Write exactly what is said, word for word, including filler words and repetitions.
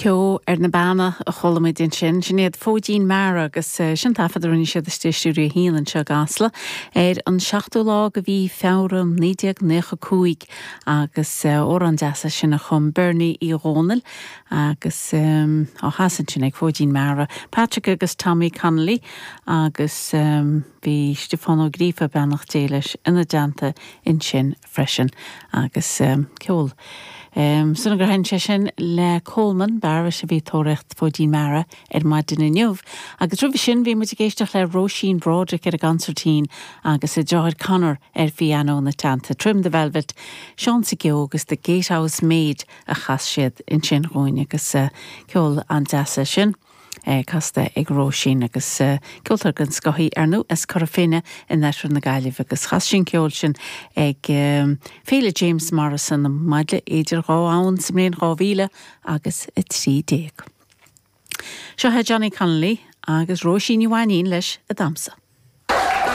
Ceo ar na Beanna a chuala muid ansin sin iad Fóidín Meara agus sin taifead a rinne siad istigh i Stiúideo a haon anseo i gCasla ar an seachtú lá de mhí Feabhra naoi déag nócha cúig agus amhrán deas é sin a chum Bernie Uí Dhónaill agus á chasadh ansin ag Fóidín Meara, Patrick agus Tommy Connolly agus bhí Stiofán Ó Gríofa beannacht Dé leis ina dteannta ansin freisin agus ceol. Um, Suna gur hein sé sin le Coleman Barris a bhí tóraíocht Fóidín Meara ar maidin inniu, agus roimhe sin bhí muid ag éisteacht le Róisín Broderick ar an gconsairtín agus a deartháir Conor ar phianó ina teannta Trim the Velvet, Seán Geo agus The Gatehouse Maid a chas siad ansin dhúinn agus uh, ceol an-deas sin. Eh, casta ag Róisín agus uh, ceoltóir den scoth í ar ndóigh as Cora Finne in oirthear na Gaillimhe agus chas sí an ceol sin ag um, Féile James Morrison maidle idir dhá ann sa mbliain dhá mhíle agus a trí déag. Seo é Johnny Connolly agus Róisín Ní Mhainín leis a damsa.